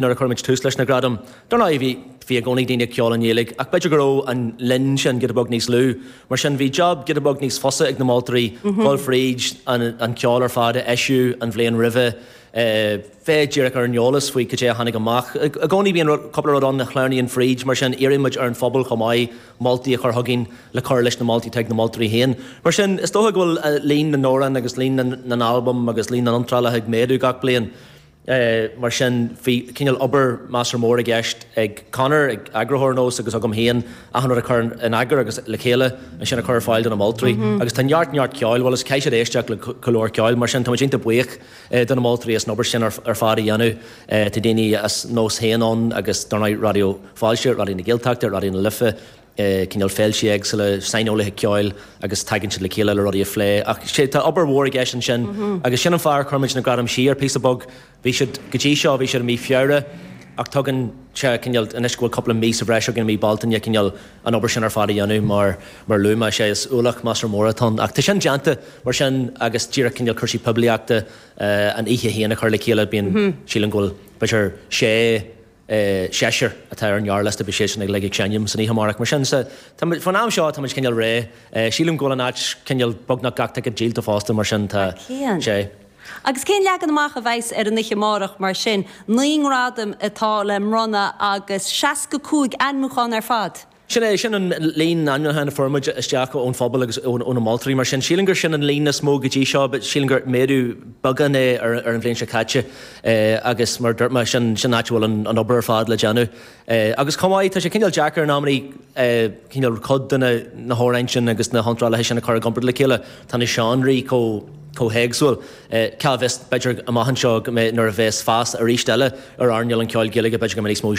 Nuair a chuir muid tús leis na gradaim, dar ndóigh bhí, bhí i gcónaí daoine ag ceol i nGaeilge ach b'fhéidir go raibh an líon sin giota beag níos lú. Mar sin bhí job giota beag níos fusa ag na moltóirí dul fríd an, an ceol ar fad a eisíodh an bhliain roimhe, bheith díreach ar an eolas faoi cad é a tháinig amach. I gcónaí bíonn rud, cúpla rud ann a shleamhnaíonn fríd, mar sin iarrann muid ar an phobal chomh maith moltaí a chur chugainn le cur leis na moltaí atá ag na moltóirí féin. Mar sin is dócha go bhfuil líon na n-amhrán agus líon na n-albam agus líon na n-iontrálacha ag méadú gach bliain. Mar sin, bhí cineál obair measartha mór i gceist ag Conor, ag eagarthóir Nós agus agam féin, achan rud a chur in eagar agus le chéile ansin a chur ar fáil do na moltóirí. Agus tá neart, neart ceoil, bhuel is caithfidh siad éisteacht le go leor ceoil, mar sin tá muid iontach buíoch do na moltóirí as an obair sin ar fad a dhéanamh. Tá daoine as Nós féin ann agus dar ndóigh Raidió Fáilte, Raidió na Gaeltachta, Raidió na Life, cineál féilte éagsúla, saineolaithe ceoil agus tagann siad le chéile le rudaí a phlé. Ach sé, tá obair mhór i gceist ansin agus sin an fáth ar chuir muid na gradaim siar píosa beag. Bhí siad, go dtí seo, bhí siad i mí Feabhra ach tugann sé cineál, anois go bhfuil cúpla mí sa bhreis againn i mí Bealtaine, cineál an obair sin ar fad a dhéanamh mar, mar luaigh mé, sé, is ualach measartha mór atá ann. Ach tá sin déanta mar sin agus díreach cineál cúrsaí poiblíochta, an oíche féin a chur le chéile, bíonn, sílim go bhfuil b'fhéidir sé, seisear atá ar an ngearrliosta, beidh siadsan uilig ag seinm san oíche amárach. Mar sin, sa, tá muid, faoin am seo tá muid cineál réidh. Sílim go bhfuil an áit cineál beagnach gach ticéad díolta fosta, mar sin tá sé. Agus cén leagan amach a bheas ar an oíche amárach mar sin? 9 ngradam atá le mbronnadh agus 65 ainmniúchán ar fad. Sin é, sin an líon ainmniúchán a fuair muid isteach ón phobal agus ó na moltóirí. Mar sin, sílim gur sin an líon is mó go dtí seo, but sílim gur méadú beagán é ar an bhliain seo caite agus mar a dúirt mé, sin sin an áit a bhfuil an obair ar fad le déanamh. Agus chomh maith, tá sé cineál deacair in amannaí cineál cuid de na hamhráin sin agus na hiontrálaithe sin a chur i gcomparáid le chéile. Tá na seánraí chomh chomh héagsúil. Cá bhfios, b'fhéidir amach anseo go mbeidh, nuair a bheas fás arís eile ar earnáil an cheoil Ghaeilge, b'fhéidir go mbeidh níos mó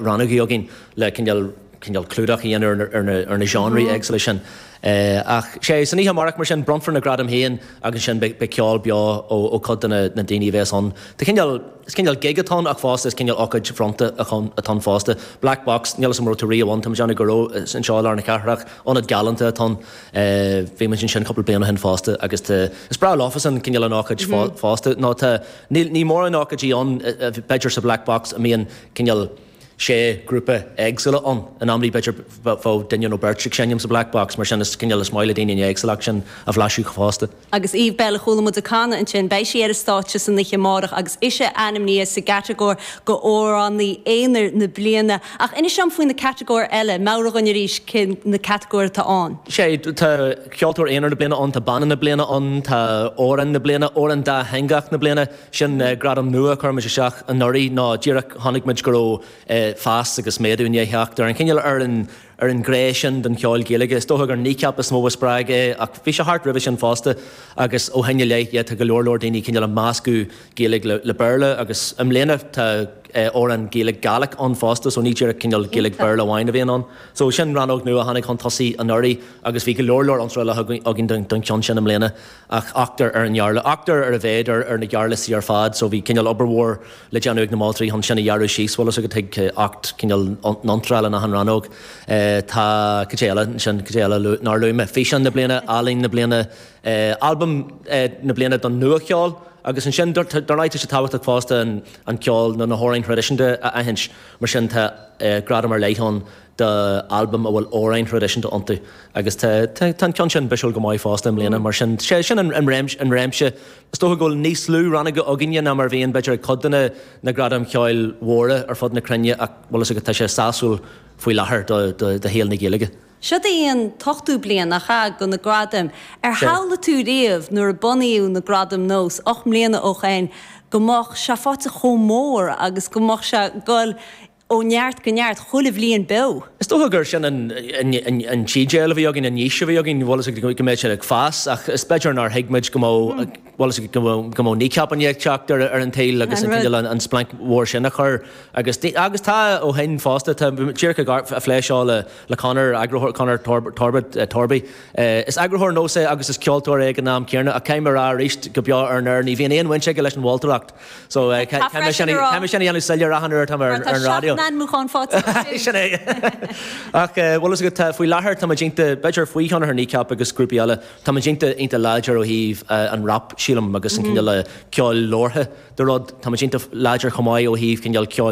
rannógaí againn. le cineál, cineál clúdach a dhéanamh ar na, ar na genreí éagsúla sin. Ach sé, san oíche amárach mar sin, bronnfar na gradaim féin agus ansin beidh, beidh ceol beo ó, ó chuid de na, na daoine a bheas ann. Tá cineál, is cineál gig atá ann ach fosta is cineál ócáid bhronnta atá ann fosta. Black Box, níl 'fhios a'm an raibh tú riamh ann, tá mé ag déanamh go raibh, is anseo i lár na cathrach, ionad galánta atá ann. Bhí muid ansin cúpla bliain ó shin fosta agus tá, is breá leofasan cineál an ócáid fosta nó tá, níl, ní mórán ócáidí ann b'fhéidir sa Black Box a mbíonn cineál, sé grúpa éagsúla ann. In amannaí b'fhéidir bheadh duine nó beirt ag seinm sa Black Box, mar sin is cineál is maith le daoine an éagsúlacht sin a bhlaiseadh fosta. Agus Eve Belle a chuala muid ag canadh ansin, beidh sí ar an stáitse san oíche amárach agus ise ainmnithe sa gcatagóir do Amhránaí Aonair na Bliana. Ach inis dom faoi na catagóir eile, meabhraigh dhúinn arís cé na catagóir atá ann. Sé, tá Ceoltóir Aonair na Bliana ann, tá Banna na Bliana ann, tá Amhrán na Bliana, Amhrán Dátheangach na Bliana, Sin gradam nua a chuir muid isteach anuraidh nó díreach chonaic muid go raibh fás agus méadú i ndiaidh theacht ar an chineál ar an ar an ghné sin den cheol Gaeilge. Is dócha gur Kneecap is mó a spreag é ach bhí sé thart roimhe sin fosta agus ó shin i leith yeah tá go leor leor daoine cineál ag meascadh Gaeilge le le Béarla agus i mbliana tá amhrán Gaeilge Gaelic ann fosta so ní díreach cineál Gaeilge Béarla amháin a bhíonn ann. So sin rannóg nua a tháinig chun tosaigh anuraidh agus bhí go leor leor iontrálacha againn don cheann sin i mbliana. ach ochtar ar an ngearrliosta, ochtar ar a mhéad ar na gearrliostaí ar fad, so bhí cineál obair mhór le déanamh ag na moltóirí chun sin a ghearradh síos, bhfuil fhios agat, chuig 8 cineál n-iontráil in achan rannóg. Tá, cad é eile ansin, cad é eile nár luaigh mé, físeán na bliana, ealaín na bliana, albam na bliana don nua-cheol agus ansin dar ndóigh tá sé tábhachtach fosta an ceol nó na hamhráin thraidisiúnta a aithint, mar sin tá gradam ar leith ann d'albaim a bhfuil amhráin thraidisiúnta iontu agus tá tá an ceann sin bisiúil go maith fosta i mbliana mar sin sé sin an réimse an réimse is dócha go bhfuil níos lú rannóga againne ná mar a bhíonn b'fhéidir ag cuid de na na gradaim cheoil mhóra ar fud na cruinne ach bhfuil fhios agat tá sé sásúil faoi láthair do do do shaol na Gaeilge. Siod í an t-ochtú bliain, nach ea, do na gradaim. Ar shamhlaigh tú riamh nuair a bunaíodh na gradaim Nós, 8 mbliana ó shoin, go mbeadh sé faighte chomh mór agus go mbeadh sé ag dul ó neart go neart, chuile bhliain beo. Is dócha gur sin an t-ídéal a bhí againn, an fhís a bhí againn, bhfuil fhios agat, go mbeadh sé ag fás ach is b'fhéidir nár thuig muid go mbeadh, bhfuil fhios agat, go mbeadh Kneecap i ndiaidh teacht ar an tsaol agus an cineál an splanc mhór sin a chur agus agus tá ó shin fosta, tá díreach ag plé seo le le Conor, eagarthóir, Conor Torbett, Torby. Is eagarthóir Nós é agus is ceoltóir é ag an am céanna ach caithfidh mé a rá arís go beo ar an aer, ní bhíonn aon bhaint aige leis an mholtóireacht. So caithfidh mé sin a dhéanamh soiléir achan uair atá mé ar an raidió. Tá 7 n-ainmniúchán faighte aige sin. Sin é. Ach bhfuil fhios agat, faoi láthair tá muid iontach, b'fhéidir faoi thionchar Kneecap agus grúpaí eile, tá muid iontach, iontach láidir ó thaobh an rap scene. sílim, agus an cineál ceoil labhartha de rud. Tá muid iontach láidir chomh maith ó thaobh cineál ceoil.